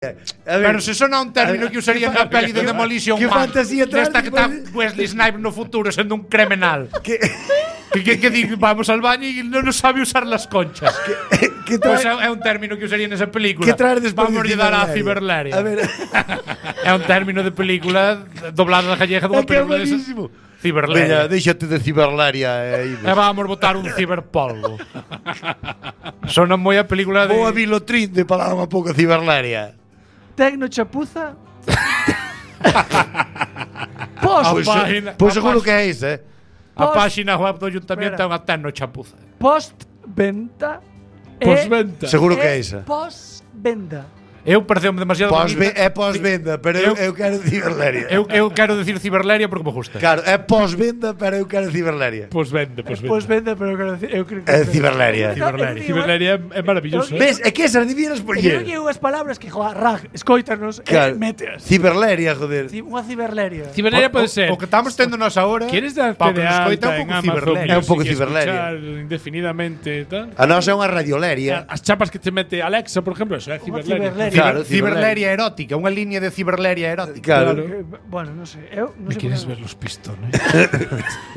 Pero se sona un término que usaría na peli de Demolition que Man, fantasía desta que está Wesley Snipes no futuro sendo un criminal. Que di, vamos al baño e non sabe usar las conchas. Pois é un término que usaría nesa película. Que traer despois vamos de dar a Ciberleria. Ciberleria. A ver. É un término de película doblada da gallega dunha película desa. Ciberleria. Veña, déxate de Ciberleria E vamos botar un ciberpolvo. Sona moi a película de... Boa Vilotrín de palabra unha pouco Ciberleria. Tecno chapuza. Pois seguro que é iso, A páxina web do Ayuntamento é unha tecno chapuza. Post-venta. Postventa. Seguro que é iso. Post-venda. Eu pareceu-me demasiado É pós-venda, pero eu quero Ciberleria. Eu quero decir Ciberleria porque me gusta. Claro, é pós-venda, pero eu quero Ciberleria. Postvenda. Post-venda, pero eu creo que É Ciberleria. Ciberleria é maravilloso. Ves, é que esas debieras Eu poñer. creo que unhas palabras que, rag, escoítanos, meteas. Ciberleria, joder. Unha ciberleria. Ciberleria pode ser. O que estamos tendo nós agora. Queres darte de alta en Amazon? É un pouco Ciberleria. Indefinidamente, tal. A nosa é unha radioleria. As chapas que te mete Alexa, por exemplo, eso é Ciberleria. Claro, Ciberleria erótica, unha liña de ciberleria erótica. Claro. Bueno, non sei. Eu non sei. ¿Quieres ver los pistones?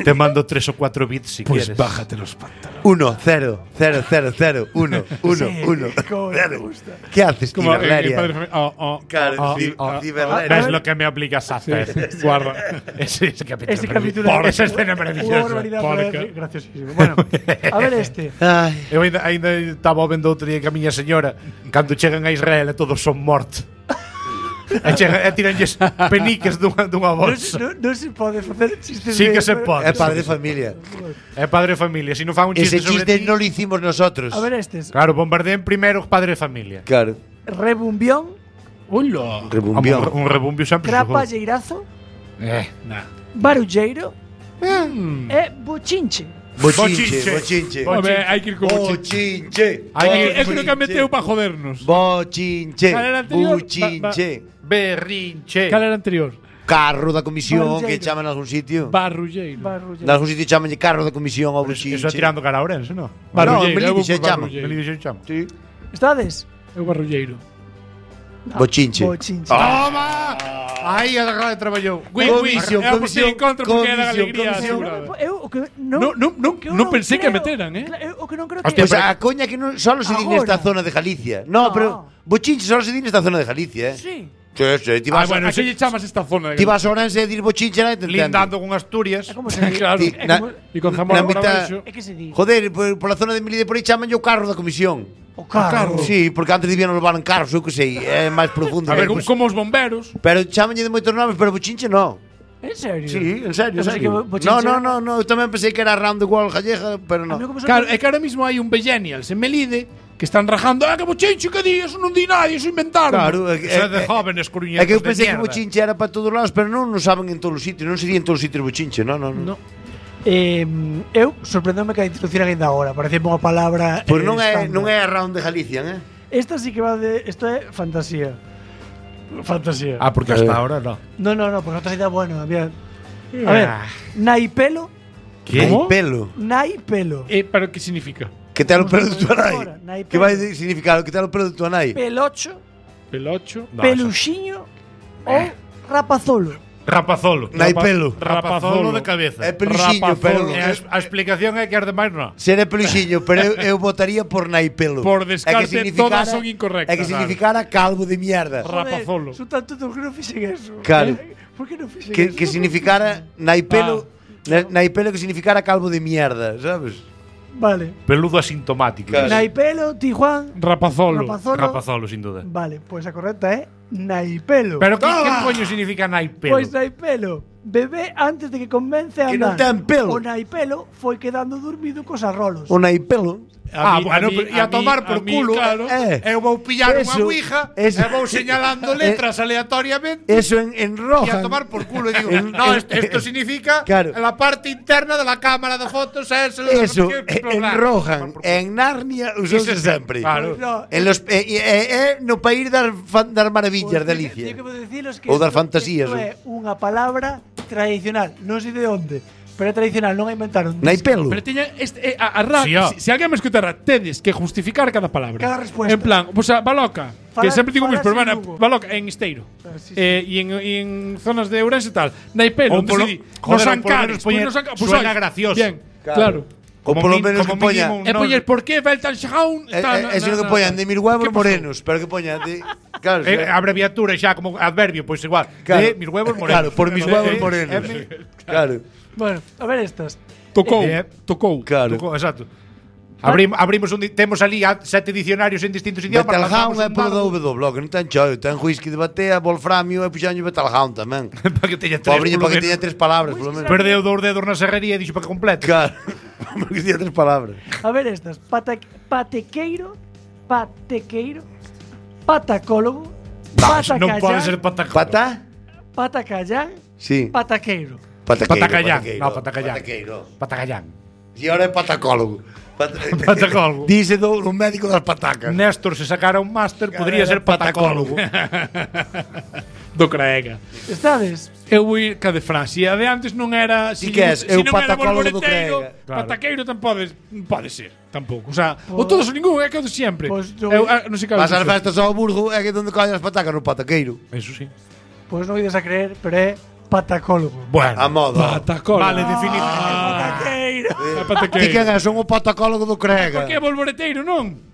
Te mando 3 o 4 bits si Pues quieres. bájate los pantalones. 1, 0, 0, 0, 0, 1, 1, 1. ¿Qué haces, Como Ciberleria? Claro, Ciberleria. Es lo que me obligas a hacer. Guarda. Ese capítulo. Ese capítulo. Esa escena maravillosa. Graciosísimo. Bueno, a ver este. Eu ainda estaba vendo outro día que a miña señora, cando chegan a Israel e todos son mortos. E tiranlles peniques dunha bolsa. Non se pode facer chistes. Sí que se pode. É padre de familia. É padre de familia. Si non fan un chiste Ese sobre chiste ti, non lo hicimos nosotros. A ver estes. claro, bombardeen primeiro padre de familia. Claro. Rebumbión. Hola. Rebumbión. Un rebumbio sempre Crapalleirazo. Barulleiro. E bochinche. Bochinche. Home, hai que ir con Bochinche. Eu creo que meteu para jodernos. Bochinche. Cal era anterior? Buchinche. Berrinche. Cal era anterior? Carro da comisión Barulleiro. que chaman en algún sitio. Barulleiro. En algún sitio chamanlle carro da comisión ao buchinche. Eso é tirando cara a Ourense, non? Barulleiro. Melide eu vou se por chama. Barulleiro. Melide se chama. Sí. Estades? Eu barulleiro. Bochinche. Bochinche. Toma! Aí a grande traballou. Comisión, Eu votei en contra porque era comisión, alegría. comisión. Eu o que Non pensei que meteran, O que non creo Hostia, que Pues a coña que non solo se di nesta Agora. zona de Galicia. No, pero bochinche solo se di nesta zona de Galicia, Sí. Sí, ti vas, Bueno, eso lle chamas esta zona. ti vas a Ourense e dir bochinche na Lindando con Asturias. É como se di. Claro. Ti- na- E con Zamora na mitad- Barabeixo. É que se di. Joder, por la zona de Melide por aí chaman o carro da comisión. O carro. Sí, porque antes debían levar en carros, eu que sei, é máis profundo. A ver, como os bomberos. Pero chamanlle de moitos nomes, pero bochinche no. En serio? Sí, en serio. O sea, sí. que bochinche- No, eu tamén pensei que era round the world gallega, pero A mí no. como se Claro, é que ahora mismo hai un Bellenials en Melide que están rajando. Que bochinche que di, eso non di nadie, eso inventaron. Claro, Eso é de jóvenes coruñetos é que eu de pensei que mierda. bochinche era para todos lados, pero non saben en todos os sitios, non sería en todos os sitios bochinche, no. Eu sorprendome que a introducir ainda agora. Parece unha palabra. Pois non é estándar. round de Galicia, Esta sí que va de. Esto é fantasía. Fantasía. Ah, porque hasta ahora no. No, porque otra idea bueno. Había. A ver, naipelo. Que pelo. Naipelo. Pero que significa? Que te o pelo de tu Ahora, nai. nai Que vai significar que te o pelo de tu nai. Pelocho. Pelocho. Peluxiño. Ou rapazolo. Rapazolo. Naipelo. Rapazolo de cabeza. É peluxiño, pero E a explicación é que as demais non. Seré peluxiño, pero eu votaría por naipelo. Por descarte, todas son incorrectas. É que significara calvo de mierda. Rapazolo. Son tanto que non fixen eso. Claro. Por que non fixen eso? Que significara naipelo, naipelo que significara calvo de mierda, sabes? Vale. Peludo asintomático. Claro. Naipelo, Tijuán. Rapazolo. Rapazolo, sin duda. Vale, pues a correcta é naipelo. Pero que coño significa naipelo? Pois naipelo, bebé antes de que comence a Que non andar. ten pelo. O naipelo foi quedando dormido cos arrolos. O naipelo. Bueno, e a tomar por culo. Claro. Eu vou pillar unha Eso, ouija eso. e vou señalando letras aleatoriamente Eso en e roja. a tomar por culo. E digo, no, esto significa Claro. la parte interna de la cámara de fotos es Eso, en Rohan, en Narnia usouse sempre. Claro. No, En los no país das maravillas de Alicia. Yo que vou diciros que Ou das isto fantasías, é unha palabra tradicional, non sei de onde, Pero é tradicional, non a inventaron. Naipelo. Pero teña se alguén me escutara, tedes que justificar cada palabra. Cada respuesta. En plan, pues baloca, que Fala- sempre digo fala mis, pero sin bueno, Lugo. baloca en Esteiro. Sí, sí. Y en zonas de Ourense e tal. Naipelo, Ou polo- nos joder, ou polo Ancares, menos poñer- suena gracioso. Bien, claro. Ou polo menos que poña mínimo, E poñer por que Veltan Xaun, sino que poñan de 1000 huevos morenos, pero que poñan de claro, Abreviatura xa como adverbio, pois igual. Claro. De mis huevos morenos. Claro, por mis huevos morenos. Claro. Bueno, a ver estas. Tocou, Claro. Tocou, exacto. Abrimos temos ali 7 dicionarios en distintos idiomas. Betelhound é polo do do blog, non ten chollo, ten whisky de batea, wolframio e puxaño Betelhound tamén. para que teña 3. Pobriño, para que teña 3 palabras, polo menos. Perdeu 2 dedos na serrería e dixo para que complete. Claro. Porque teña 3 palabras. A ver estas. Patequeiro, patacólogo, Non pode ser patacallán, Pata? patacallán, Sí. pataqueiro. Patacallán. No, patacallán. Pataqueiro. Patacallán. E ahora é patacólogo. Patacólogo. Dice do médico das patacas. Néstor, se sacara un máster, podría ser patacólogo. do Craega. Estades? Eu vou ir ca de Francia. A de antes non era... Ti que és? Eu non era patacólogo do bolboreteiro, Craega. Claro. Pataqueiro non pode ser. Tampouco. O sea, o todos ou ningún, é que o de sempre. Pois yo- Non sei cal. Vas ás festas ao Burgo é que onde collen as patacas no pataqueiro. Eso sí. Pois non ides a creer, pero é patacólogo. Bueno. A moda. Patacólogo. Vale, definido. Pataqueiro. Ti quen és? Son o patacólogo do Crega. Por que bolboreteiro, non?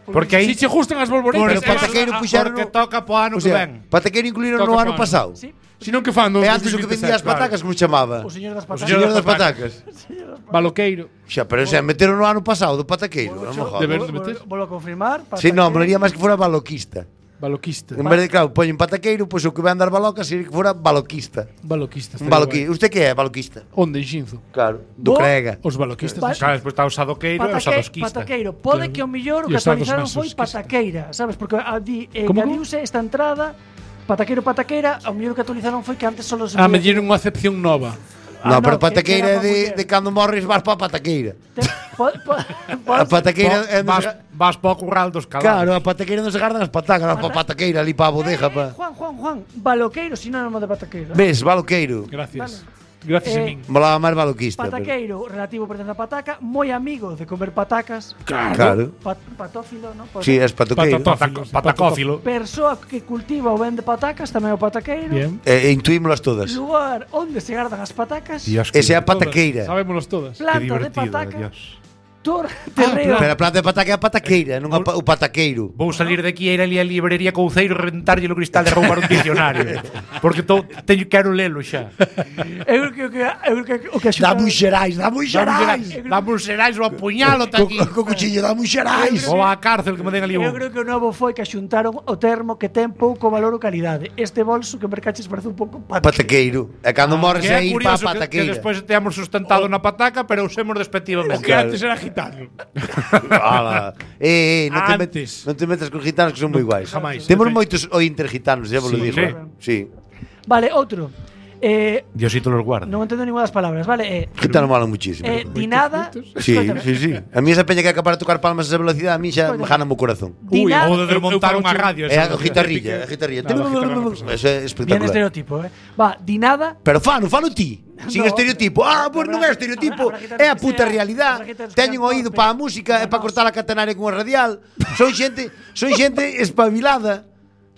Porque aí Si che gustan as bolboretas, Pero pataqueiro puxeron porque toca po ano O que sea, ven. pataqueiro incluíron Toca no ano pano. pasado. Sí, Si non que fan no E antes o que vendía as 2027, patacas, como chamaba? o señor das O patacas. señor das patacas. Baloqueiro. Xa, pero xa, meteron no ano pasado do pataqueiro. Non me jodas. Deberon de meter. Volvo a confirmar. Si, non, molaría máis que fora baloquista. Baloquista. En vez de, claro, poñen pataqueiro, pois o que vai andar balocas sería que fora baloquista. Baloquista. Un baloquista. Usted que é baloquista? Onde, en Xinzo? Claro, do Bo- Crega. Os baloquistas. Va- Claro, despois está o sadoqueiro e o sadoquista. Pataqueiro. Pode que o millor o E que os sados actualizaron masos, foi que pataqueira, sabes? Porque Como? engadiuse esta entrada pataqueira, o mellor que actualizaron foi que antes solo se Me dieron unha acepción nova. Non, pero que pataqueira era é pa muller. de cando morres vas pa pataqueira. A Pode pataqueira é onde se- Vas po curral dos cabalos. Claro, a pataqueira non se gardan as patacas, vas pa pataqueira ali pa a bodeja, pa. Juan, baloqueiro, sinónimo de pataqueiro. Ves, baloqueiro. Gracias. Gracias a min. Molaba máis baloquista. pero- Pataqueiro, relativo pertence a pataca, moi amigo de comer patacas. Claro. Patófilo, non? Sí, es patoqueiro. Patacófilo. Persoa que cultiva ou vende patacas, tamén o pataqueiro. Bien. Intuímolas todas. Lugar onde se gardan as patacas. Dios, Ese é a Todas. pataqueira. Sabémonos todas. que Planta de divertido, patacas. Dios. Terreo. Pero a planta de pataca é a pataqueira, non o pataqueiro. Vou salir de aquí e ir ali á librería Couceiro e reventarlle o cristal de roubar un diccionario. Porque quero lelo xa. Eu creo que o que Dá moi xerais, dá moi xerais. Dá un xerais o apuñalo ta aquí. Co cuchillo, dá moi xerais. Ou á cárcel que me den ali Eu un. creo que o novo foi que xuntaron o termo que ten pouco valor ou calidade. Este bolso que mercaches parece un pouco Pataqueiro. E cando morres Que é aí pa curioso que pataqueira. despois teamos sustentado na pataca, pero usemos O despectivamente. que antes era gitano. Ala. Antes. Non te metas con gitanos que son moi guais. Jamais. Temos moitos intergitanos, xa vos lo Sí, digo. Sí. Vale, outro. Diosito los guarda. Non entendo ninguna das palabras, vale? Gitanos molan muchísimo. Dinada. Sí, sí, sí. A mí esa peña que é capaz de tocar palmas a esa velocidade, a mí xa me jana o corazón. Dinada. Ou de desmontar unha radio. É esa a guitarrilla, a guitarrilla. Eso é Bien espectacular. estereotipo, Va, dinada. Pero falo ti. Sin No. estereotipo. Pois non é estereotipo, Habrá que ter é a que puta sea- realidade. habrá que ter que Teñen ser oído torpe. para a música e para cortar a catenaria con a radial. Son xente espabilada.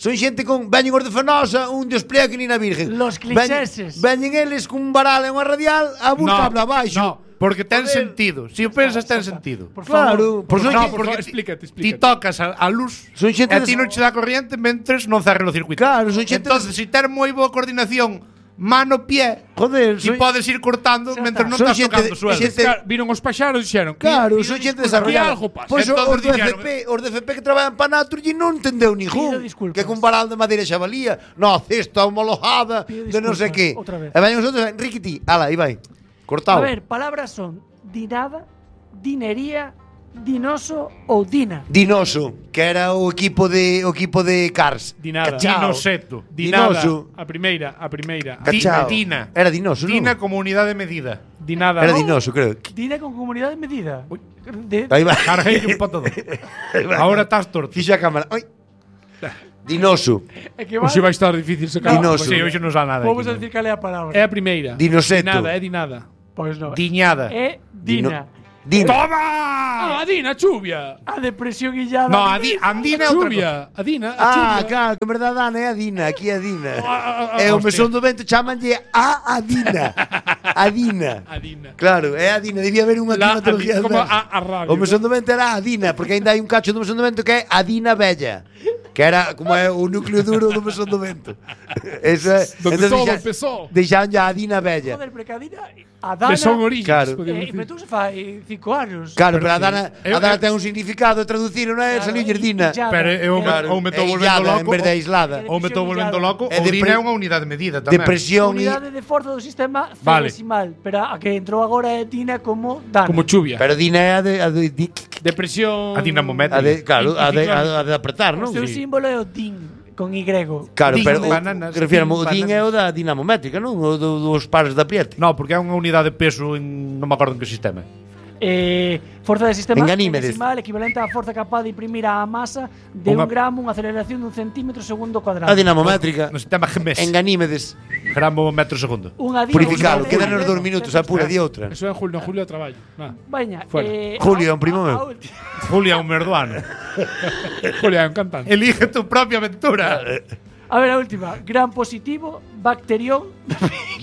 Son xente con veñen os de Fenosa, un despliegue que nin a virgen. Los clicheses. Veñen eles con un varal e unha radial a buscar cable abaixo. No, porque ten Joder. sentido. Si o pensas, ten sentido. Por favor. Claro, por son No, xente- porque explícate. ti tocas a luz Son xente e a ti non che dá corriente mentres non cerren o circuito. Claro, son xente Entonces, si ter moi boa coordinación mano-pie, Joder, ti podes ir cortando Xa mentres está. non Son estás xente tocando de- suelo. xente- Viron os paxaros e dixeron Claro, "Pido son xente disculpas, desarrollada. aquí algo pasa". Pois Entonces os do dixeron- FP que traballan para Naturgy non entendeu ningún. Pido disculpas. Que con varal de madeira xa valía. No, cesta homologada Pido de non sei que. disculpas, outra vez. E veñen os outros, Enrique ti, ala, aí vai. A Cortado. ver, palabras son dinada, dinería, dinoso ou dina. Dinoso, que era o equipo de Cars. Dinada. Cachao. Dinoseto. Dinada. Dinoso. A primeira. Cachao. Tina. Era Dinoso, non? Tina como unidade de medida. Dinada. Era Dinoso, creo. Dina con comunidade medida. Aí vai. Carguei un pa todo. Ahora estás torto. Fixo a cámara. Oi. Dinoso. É que vai... Hoxe vai estar difícil sacar. Dinoso. Sí, hoxe non sa nada. Vamos a aquí, decir cal é a palabra. É a primeira. Dinoseto. Di nada. Pois non. Diñada. É Dina. Dino. Toma! Ah, Dina, chuvia. A depresión illada. No, Andina é outra cosa. Chuvia. A Dina, a Ah, chuvia. claro, que en verdade Ana é a Dina, aquí é a Dina. Ah, E o hostia. mesón do vento chamanlle a Dina. A Dina. A Dina. Claro, é a Dina, debía haber unha La climatología. como a radio. O mesón do vento era a Dina, porque ainda hai un cacho do mesón do vento que é a Dina Bella. Que era como é o núcleo duro do mesón do vento. Eso é. Donde todo empezó. Deixaron ya a Dina Bella. Joder, porque a Dina... A Dana... Que son orígenes, Claro. podemos Pero decir. tú se fai 5 anos. Claro, pero a Dana ten un significado, traducir, non é? Claro, Saliulle Dina. illada. Pero eu Claro, ou me estou é volvendo illada, en loco. vez de aislada. Ou me estou volvendo loco. É Ou depre- Dina é unha unidade de medida tamén. Depresión e... Unidade de forza do sistema Vale. centesimal. Pero a que entrou agora é Dina como Dana. Como chuvia. Pero Dina é a de Depresión. A dinamométrica. claro, a de apretar, O non? seu Sí. símbolo é o DIN, con Y. Claro, Din pero bananas, refirmo, o din DIN é o da dinamométrica, non? O dos pares de apriete. No, porque é unha unidade de peso en non me acordo en que sistema. Forza de sistema En Ganímedes. centesimal equivalente á forza capaz de imprimir á masa de Unha- 1 gramo unha aceleración dun centímetro segundo cuadrado. A dinamométrica. No sistema GMS. En Ganímedes. Gramo metro segundo. Unha Purificalo, dina- quedan os 2 minutos, apura di outra. Eso é en julio, a traballo. Nah. Veña, Fuera. Julio, é un primo meu. Julia, un merduano. Julia, un cantante. Elige tu propia aventura. A ver, a última. Gran positivo, bacterión,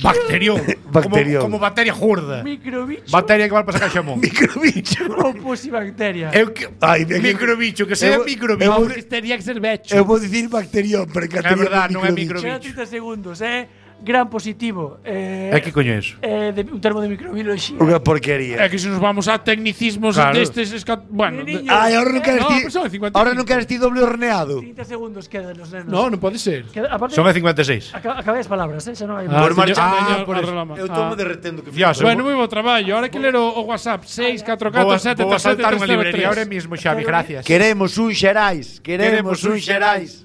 Bacterión. Bacterión. Como bacteria gorda. microbicho Bacteria que vai para sacar xamón. Microbicho. ou posibacteria. Eu que Ai, ben que- microbicho, que sea Eu- microbicho. eu- Que teria que ser becho. Eu vou dicir bacterión, pero que É verdad, non é microbicho. Quedan 30 segundos, Gran positivo. É que coño é eso? Un termo de microbiología. Unha porquería. É que se nos vamos a tecnicismos Claro. destes... Bueno, Niño. Ai, ahora non queres No, ti. pero son 55. Ahora non queres ti doble horneado. 30 segundos quedan los nenos. no, non pode ser. Aparte, Son a 56. acabé as palabras, xa non hai Por máis. marcha- señor, por eso. arreglama. Eu tomo derretendo que Fioso. Bueno, moi bo traballo. Ahora que ler o WhatsApp 644 Vou a saltar unha 737 librería ahora mismo, Xavi, gracias. Queremos un Xerais, queremos un Xerais.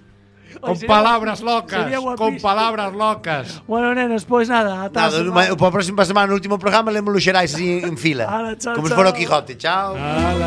Con Sería- palabras locas, sería con guapísimo. palabras locas. Bueno, nenos, pois nada, ata a Nada, semana. para a próxima semana, no último programa, lemos os Xerais así en fila. Ala, chao, Como se fora o chao. Quijote. Chao.